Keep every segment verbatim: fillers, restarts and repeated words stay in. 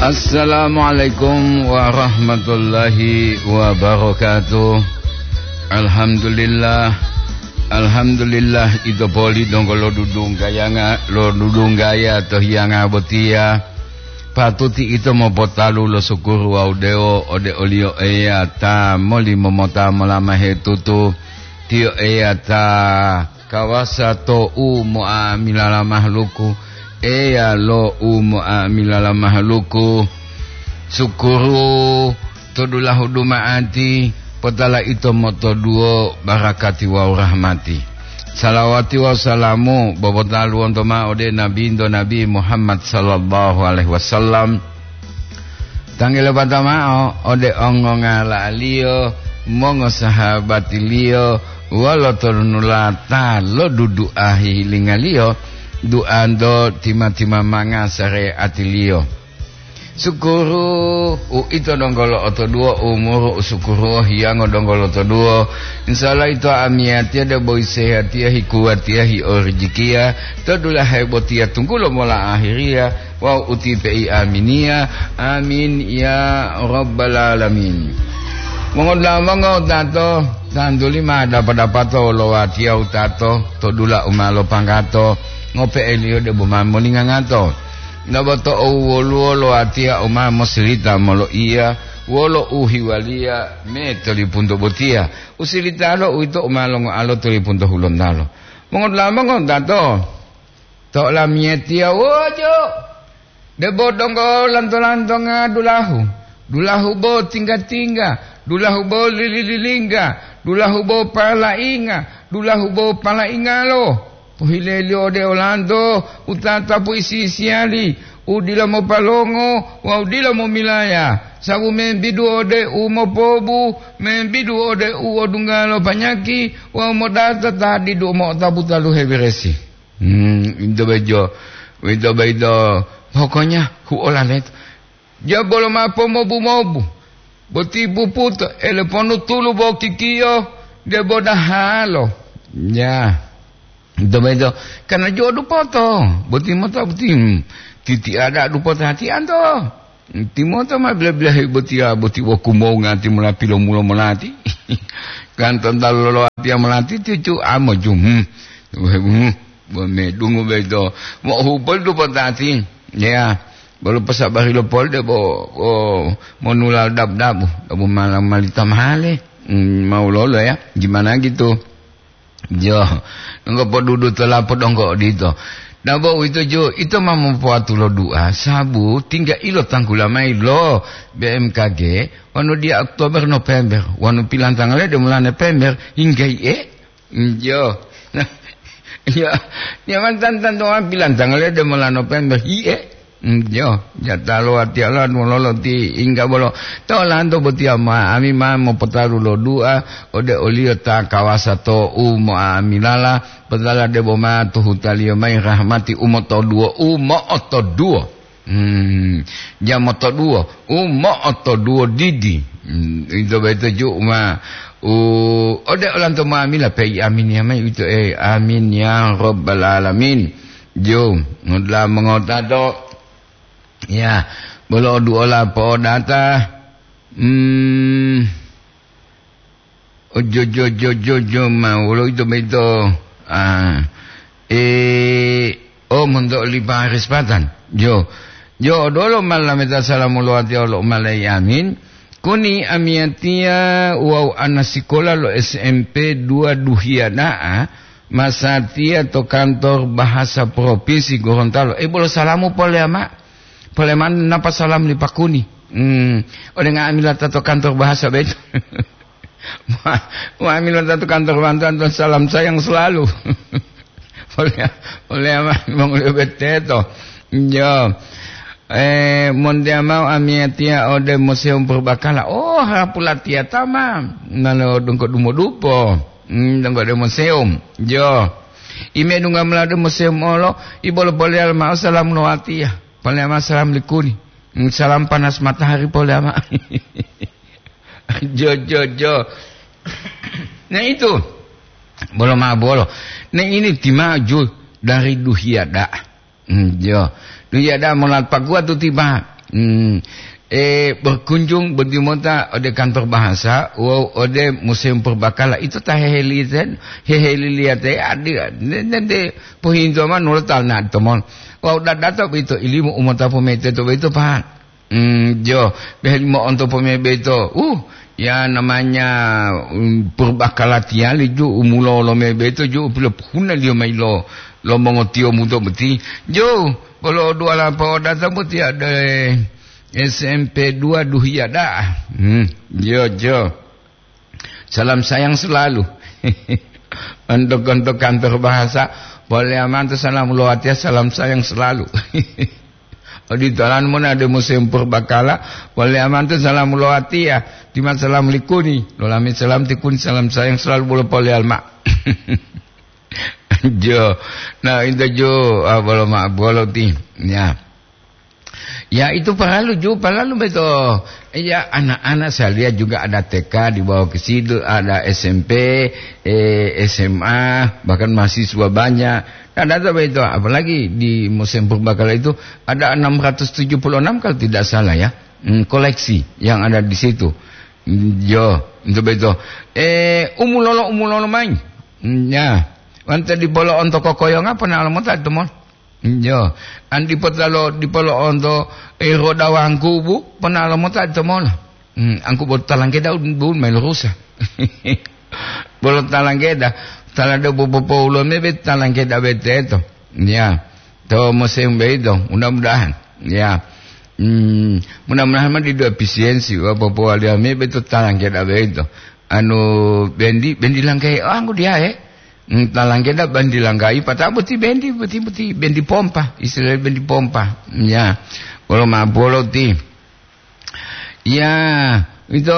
Assalamualaikum warahmatullahi wabarakatuh. Alhamdulillah. Alhamdulillah, ito poli donggo lodudunggayanga, lodudunggaya to hiyanga botiya. Patuti ito mopotalu lo sukuru wawu dewo ode oliyo Eya ta molimomota molamahe tutu. Tiyo Eya ta kawasa to u mo'amilala mahaluku, Eya lo u mo'amilala mahaluku. Sukuru to dulahu duma'ati, potala ito motoduwo barakati wawu rahmati. Salawati wawu salamu bobotalu wonto ma'o ode Nabinto Nabi Muhammad sallallahu alaihi wasallam. Tanggulo pata ma'o ode ongongala'aliyo, mongosahabatiliyo, wolo tonulata lo dudu'a hihilingaliyo, duanto tima-timamanga sareatiliyo. Sukuru, uito donggo lo'otoduwo umuru, usukuruwo hiyango donggo lotoduwo. Insya Allah ito amiyatiya debo isehatiya, hikuwatiya, hiorijikiya, to dulahe botiya tunggulo mola ahiriya, wawu utipe'i aminiya. Amin ya rabbal alamin. Mongodula'a mongo tato, tantuli ma dapa-dapato lo watiya utato, to dula u ma lopanggato, ngope'eliyo debo ma molingangato. Naboto owoluwo lo watiya u ma mosilita moloiya wolo uhiwaliya me tolipunto botiya. Usilitalo uwito u ma longoalo tolipunto hulontalo. Mongodula'a mongo tato, to olamiyatiya wojo, debo donggo lanto-lantonga dulahu, dulahu bo tingga-tingga, dulahu bo lili-lilingga, dulahu bo palainga, dulahu bo palaingalo. Pohileliyo ode olanto u tatapu isi-isiyali, u dila mopalongo wawu dila momilaya, sabu membidu ode u mopobu, membidu ode u odungga lo panyaki wawu modata ta didu mo'otapu taluhe beresi. Hmm, ito bejo, ito beito, pokoknya huola leto. Jabolo ma pomobu-mobu, boti buputo, ele ponu tulu bo kikiyo, debo dahalo. Ya, ito beito, karena jo dupoto, boti mota boti, hmm, titi ada dupoto hati anto. Timoto ma bila-bilahi botiya, boti wokumonga timola pilomulo molati. Kan tontalo loloatiya molati, cucu amo jum. Hmm. Hmm. Bo medungu beto. Mo hupol tu potati. Ya. Bolo pasabari lo pol de bo, bo monulal dab-dabu. Dabu malam malita mahale. Hmm, mau lolo ya. Gimana gitu? Jo, ngopodudu to lapo donggo odito. Dabo uwito jo, ito ma mopoatu lo du'a, sabu tingga ilo tanggula mayi lo B M K G, wonu diya Oktober, November, wonu pilantangale de mola November, hingga iye? Jo. Ya, ya mantan-tantu pilantangale de mola November, iye? Mm, yo, jatalo ati Allah nuwololo ti ingga bolo. Tolanto botiya ma, ami ma mopotalu lo du'a ode oliyo ta kawasa to u mo'amilala, potala debo ma tuhutaliyo mayi rahmati u motoduwo, u mo'otoduwo. Hmm, ja motoduwo, u mo'otoduwo didi. Hmm, ito boyito ju ma, u, ode olanto mo'amila peyi aminiya mayi uwito, eh, amin ya rabbal alamin. Jo, ngudla mengota do. Ya, bolo oduola po'odata, hmm, ojojojojojo ma wolo ito boyito, ah, e, o monto oli Paris Patan. Jo, jo, odolo ma lameta salamu lo watiya lo umalayi amin. Kuni amiyatiya wawu ana sikola lo S M P dua duhiya da'a, masatiya to kantor bahasa provinsi Gorontalo. Eh, bolo salamu polea ma. Polea ma napa salam li pakuni. Hmm, ode nga'amila ta to kantor bahasa beto. Nga'amila ta to kantor bantuan to salam sayang selalu. Polea, polea ma, monguliyo beteto. Jo. Eh, montea mao amiyatiya ode Museum Purbakala. Oh, hapulatiya tama. Nalo dongko dumodupo. Hmm, donggo de museum. Jo. Ime dunga mula de museum olo, ibolo polea mao salam lo watiya. Polea mao salam likuni. Hmm, salam panas matahari polea mao. Jo, jo, jo. Nah itu. Bolo ma bolo. Nah ini timaju dari duhiya da'a. Hmm, jo. Duhiya da'a mola paguwa tu tiba. Hmm, eh, berkunjung boti mota ode kantor bahasa, wawu ode Museum Purbakala. Ito ta heheliten-, heheliliyate adi, ne-, nente pohinto ma nulo talna tomon. Wawu dadato boyito ilimu u mota pomete to boyito, Pak. Hmm, jo, beheli mo'onto pomebe boyito. Uh, ya namanya, um, Purbakala tiyali ju, u mulolo mebe boyito ju, u pilopohunaliyo mayi lo, lo mongotiyomu to boti. Jo, bolo duwala po'odata boti ada, eh, S M P dua Duhiya da'a. Hmm, jo, jo. Salam sayang selalu. Untuk, untuk kantor bahasa, boleh amanto salam lo watiya, salam sayang selalu. Odito lan mona de Museum Purbakala, boleh amanto salam lo watiya, tima salam likuni, lolami salam tikuni, salam sayang selalu bolo pole alma. Jo, nah, itu jo, ah, bolo ma-, bolo ti, ya. Ya, itu perlu juga, perlu betul. Ya, anak-anak saya lihat juga ada T K di bawah ke situ, ada S M P, eh, S M A, bahkan mahasiswa banyak. Ada tuh betul, apalagi di Museum Purbakala itu ada enam ratus tujuh puluh enam kalau tidak salah ya, hmm, koleksi yang ada di situ. Hmm, yo, itu betul. Eh, umulolo, umulolo main. Hmm, ya. Wante di polo onto kokoyonga pernah lama tak temuan. Yo, an dipotalo, dipolo'onto, eh, roda wangkubu, ponalo mota to mola. Hmm, angku bo talangkeda un, bun melu rusa. Bolo talangkeda, talade bo popoulo mebe talangkeda beteto. Ya, to musim beito, mudah-mudahan. Ya. Hmm, mudah-mudahan ma didu efisiensi, wa popowaliya mebe to talangkeda beito. Anu, bendi, bendi langkai, oh, angku dia, eh. Hmm, talangkeda bandi langgai, pata'o boti bendi, boti, boti bendi pompa, istilah bendi pompa. Ya, bolo ma bolo ti. Ya, itu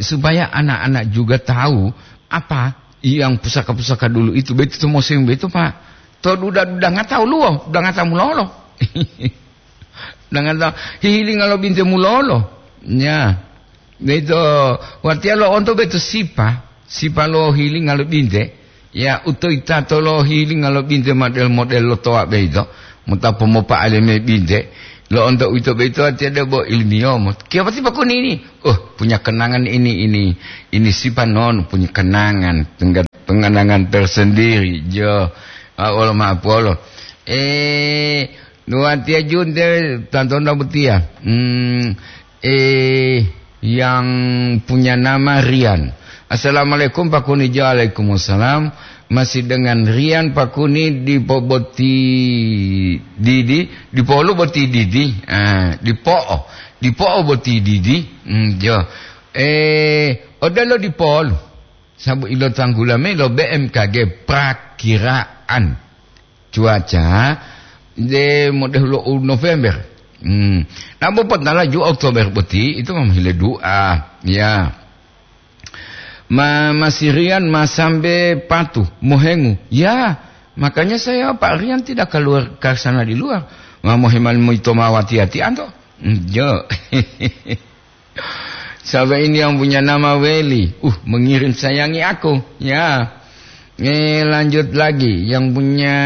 supaya anak-anak juga tahu apa yang pusaka-pusaka dulu itu, betul musim betul, Pak. To duda-duda nggak tahu luo, duda nggak tahu mulolo. Dengan ta-, hihilinga lo binte mulolo. Ya. Beto, watiya lo'onto beto sipa, sipa lo hihilinga lo binte. Ya, utoyitato lo hihilinga lo binte model-model lo towa beito. Mota pomopa'aleme binte. Lo'onto uwito beito watiya debo ilmiyomo. Kiyobati pakuni ini? Oh, punya kenangan ini, ini. Ini sipa non punya kenangan, tengga-, kenangan tersendiri. Jo, ah, wolo ma'apolo. Eh, Watiya junte tantonda botiya. Hmm, eh, yang punya nama Rian. Assalamualaikum, Pak Kuni. Waalaikumsalam. Masih dengan Rian, Pak Kuni, di po-, boti didi, di polu boti didi. Ah, di po'o, di po'o boti didi. Hmm, jo. Eh, odelo di polu. Sabu ilo tanggula me lo B M K G prakiraan cuaca de modeh lo u November. Hmm. Nabo potala ju Oktober boti, itu mah hile dua. Ya. Ma-, Mas Rian ma sambe patu, mohengu. Ya, makanya saya, Pak Rian, tidak keluar ke sana di luar. Ma moheman moito ma wati-wati anto. Hmm, jo. Siapa ini yang punya nama Weli? Uh, mengirim sayangi aku. Ya. Eh, lanjut lagi. Yang punya,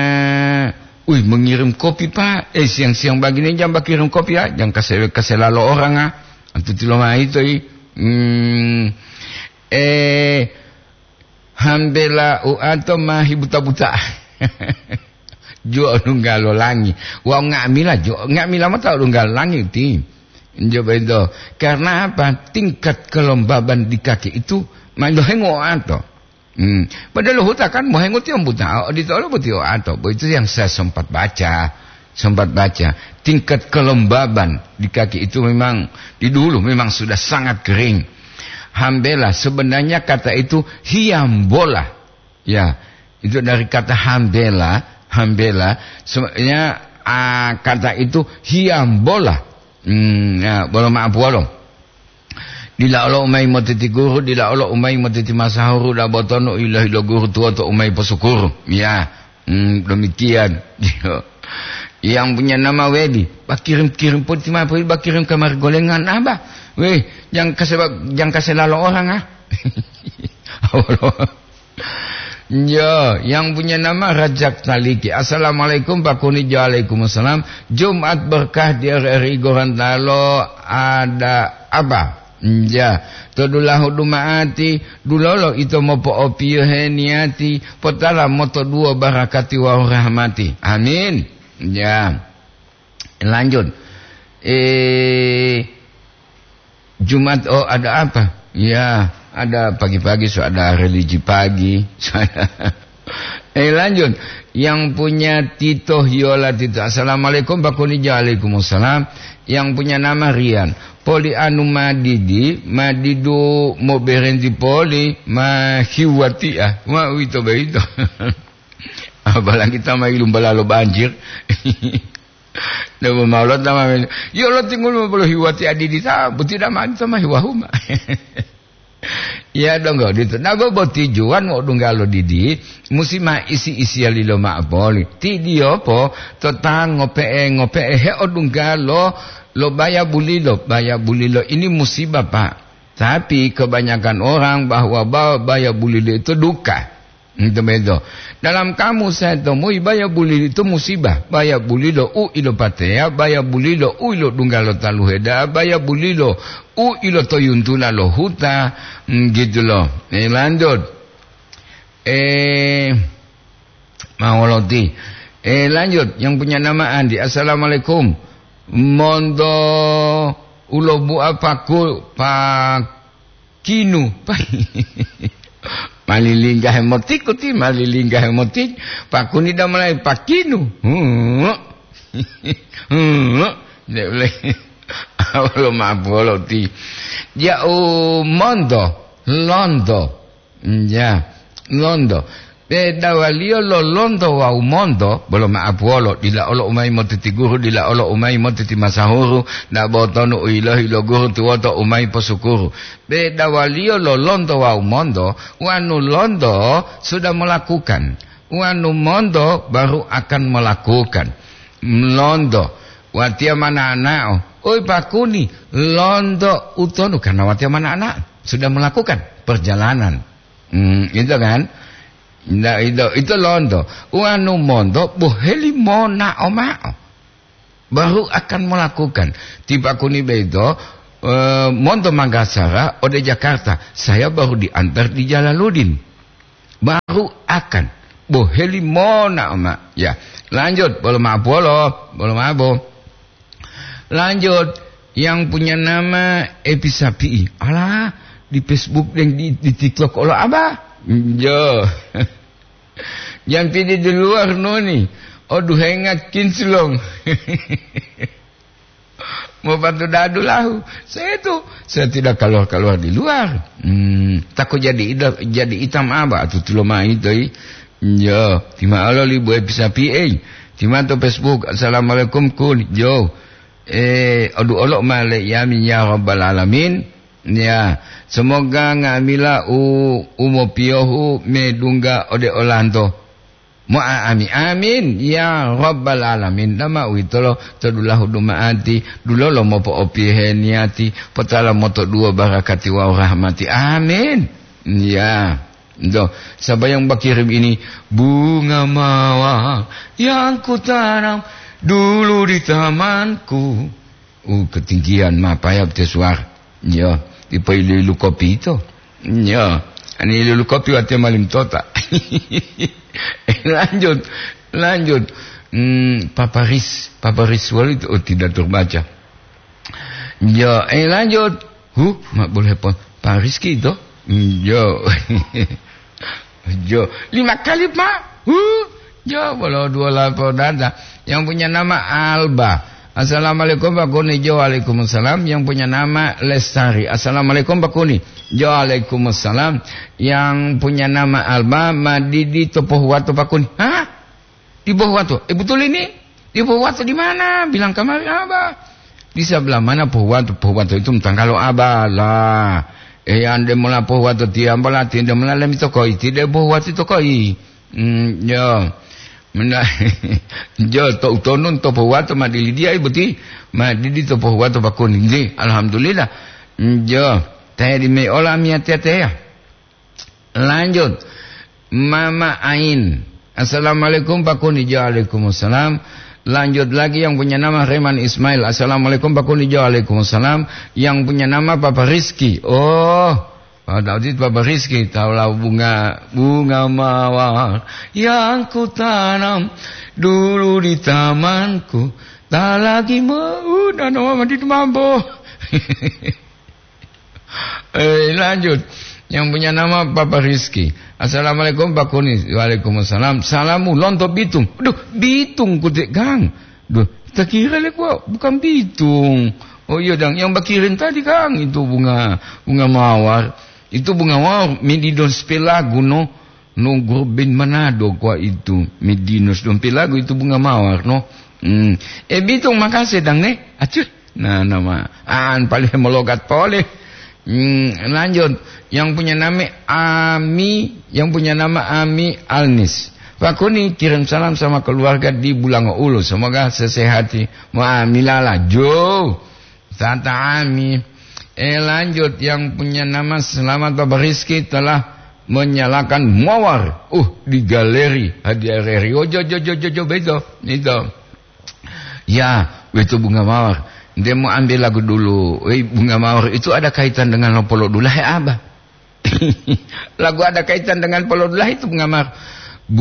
wih, mengirim kopi, Pak. Eh, siang-siang begini jangan kirim kopi, ya. Jangan kasih, kasih lalu orang, ah. Antu tilo mai to, i. Hmm. Eh, Hambela uato ma hibuta-buta. Juo lunggalo langi. Wau nga'amila juo, nga'amila mota lunggalo langi ti. Njo bento. Karena apa? Tingkat kelembaban di kaki itu ma lohengo uato. Hmm. Padahal huta kan mohengo tiyo buta, odito olo boti uato. Bo itu yang saya sempat baca. Sempat baca, tingkat kelembaban di kaki itu memang di dulu memang sudah sangat kering. Hambela, sebenarnya kata itu hiambola. Ya, itu dari kata hambela, hambela, sebenarnya, ah, kata itu hiambola. Hmm, ya, bolo maaf, bolo. Dila olo umai motiti guru, dila olo umai motiti masahuru, da botono ilohi lo guru tuwoto umai posukuru. Ya, hmm, demikian. Yang punya nama Wedi, bakirim-kirim poti ma, Wedi, bakirim kamari golengan, Abah. Weh, jang kase, jang kase lalo orang, ah. Yo, yang punya nama Rajak Taliki. Assalamualaikum, Pak Kuni. Waalaikumsalam. Jumat berkah di R R I Gorontalo, ada apa? Ya, to dulahu duma'ati, dulolo ito mopo'opiyohe niyati, potala motoduwo barakati wawu rahmati. Amin. Ya. Lanjut. Eh, Jumat, oh, ada apa? Ya, ada pagi-pagi, so ada religi pagi. So ada. Eh, lanjut. Yang punya Tito Hiola Tito. Assalamualaikum, Pak Kuni. Waalaikumsalam. Yang punya nama Rian. Poli anu madidi, madidu mo berenti poli, ma hiwati ah. Ma uwito boyito. Apalagi ta ma ilumbalalo banjir. Debo maulo ta ma men-, yo lo tingul ma bolo hiwati adidi ta, buti da ma ta ma hiwahuma. Ya donggo ditu. Nago boti juwan mo dunggalo didi, musi ma isi-isiyalilo ma'o poli. Ti diyopo to ta ngope'e-ngope'e he o dunggalo lo baya bulilo, baya bulilo ini musibah, Pak. Tapi kebanyakan orang bahwa ba-, baya bulilo itu duka. Ento beto. Dalam kamus saya temui baya bulilo itu musibah. Baya bulilo u ilo pateya, baya bulilo u ilo dunggalo taluheda, baya bulilo u ilo toyuntula lo huta, mm, gitu loh. Eh, lanjut. Eh, mawoloti. Eh, lanjut. Yang punya nama Andi. Assalamualaikum. Monto ulo bua paku, pa-, Kinu. Malilingga hemotikuti, malilingga hemoti. Pakuni da mulai pakinu. Hmm. Hmm. Nde ule. Awalo mapoloti. Ya, u monto, lonto. Ya, lonto. Pedawaliyo lo lonto wawu monto, bolo ma'apuwolo, dila olo u mayi motiti guru, dila olo u mayi motiti masahuru, dabo tonu u yilohi lo guru tuwoto u mayi posukuru. Pedawaliyo lo lonto wawu monto, wanu lonto sudah melakukan, wanu monto baru akan melakukan. Lonto, watiya mananao, oi pakuni, lonto utonu, karena watiya mananao, sudah melakukan perjalanan. Hmm, gitu kan? Nah, itu, itu lonto. Wanu monto, boheli monao mao. Baru akan melakukan. Ti pakuni beto, eh, monto Manggasara ode Jakarta. Saya baru diantar di Jalaluddin. Baru akan. Boheli monao ma. Ya, lanjut. Bolo mapolo. Bolo mabo. Lanjut, yang punya nama Epi Sapi'i. Alah, di Facebook dan di, di TikTok olo aba. Jo. Yang pidi di luar noni. Oduhenga kinclong. Mau bantu dadu lahu. Saya itu, saya tidak keluar-keluar di luar. Hmm, takut jadi ida-, jadi hitam apa? Atau tulo mai toi. Yo, tima alo li buai pisapi'e. Tima to Facebook, "Assalamualaikum, Kun." Yo. Eh, odu olo ma le yamin ya rabbal alamin. Ya, semoga nga'amila u, u mopiyohu medungga ode olanto. Mo'a'ami, amin, ya rabbal alamin. Dama uwitolo to dulahu duma'ati, dulolo mopo'opiyohe niyati, potala motoduwo barakati wawu rahmati. Amin. Ya. Ento, sapa yang bakirim ini? Bunga mawar yang kutanam dulu di tamanku. Uh, ketinggian, mapaya te suara. Ya, dipo ilu-ilu kopi itu. Ya, ani ilu-ilu kopi wate malim tota. Lanjut, lanjut. Hmm, paparis, paparis walu itu, oh, tidak terbaca. Ya, eh, lanjut. Huh, mak boleh po. Pak Rizky itu? Hmm, ya. Jo, lima kali, Pak. Huh? Jo, bolo dua lapor data. Yang punya nama Alba. "Assalamualaikum, Pak Kuni." Jo, waalaikumsalam. Yang punya nama Lestari. "Assalamualaikum, Pak Kuni." Jo, waalaikumsalam. Yang punya nama Alba, "Madidi to pohuwato, Pak Kuni." Hah? Di Pohuwato. Eh, betul ini? Di Pohuwato di mana? Bilang kamari, Abah. Di sebelah mana Pohuwato? Pohuwato itu tanggalo Abah lah. Eh, ande mola Pohuwato tiang, bola tiang, ande mola lemi tokoi, tidak Pohuwato tokoi. Hmm, yo. Mena-, yo, to utonun to Pohuwato ma dilidia ibuti. Ma didi to Pohuwato Pak Kuni. Nggih, alhamdulillah. Hmm, yo. Teh di me ola miya teteya. Lanjut. Mama Ain. Assalamualaikum, Pak Kuni. Waalaikumsalam. Lanjut lagi yang punya nama Reman Ismail. Assalamualaikum, Pak Kuni. Waalaikumsalam. Yang punya nama Papa Rizky. Oh, Pak Daudi, Papa Rizky. Tahulah bunga, bunga mawar yang kutanam dulu di tamanku. Tak lagi mau, dan mama di mambo. Eh, lanjut. Yang punya nama Papa Rizky. Assalamualaikum, Pak Kuni. Waalaikumsalam. Salamu lonto Bitung. Duh, Bitung kutik, Kang. Duh, kita kira le kok bukan Bitung. Oh iya, Dang. Yang bakirin tadi, Kang, itu bunga, bunga mawar. Itu bunga mawar, medinos pelago, no. No, grup band Manado kuwa itu, Medinus Dompe lagu itu bunga mawar, no. Hmm. Eh, Bitung, makasih, Dang, ne. Acuh. Nah, nama. An, paling mologat pole. Hmm, lanjut. Yang punya nama Ami, yang punya nama Ami Alnis. Pak Kuni kirim salam sama keluarga di Bulango Ulu. Semoga sesehati. Wah, milala. Jo. Tata Ami. Eh, lanjut, yang punya nama Selamat Bapak Rizky telah menyalakan mawar. Uh, di galeri. Hadiah Reri. Oh, jo, jo, jo, jo, jo, beto. Itu. Ya, itu bunga mawar. Dia mau ambil lagu dulu. Eh, bunga mawar itu ada kaitan dengan lopolo dulahe, Abah. Lagu ada kaitan dengan polo dulahe itu bunga mawar.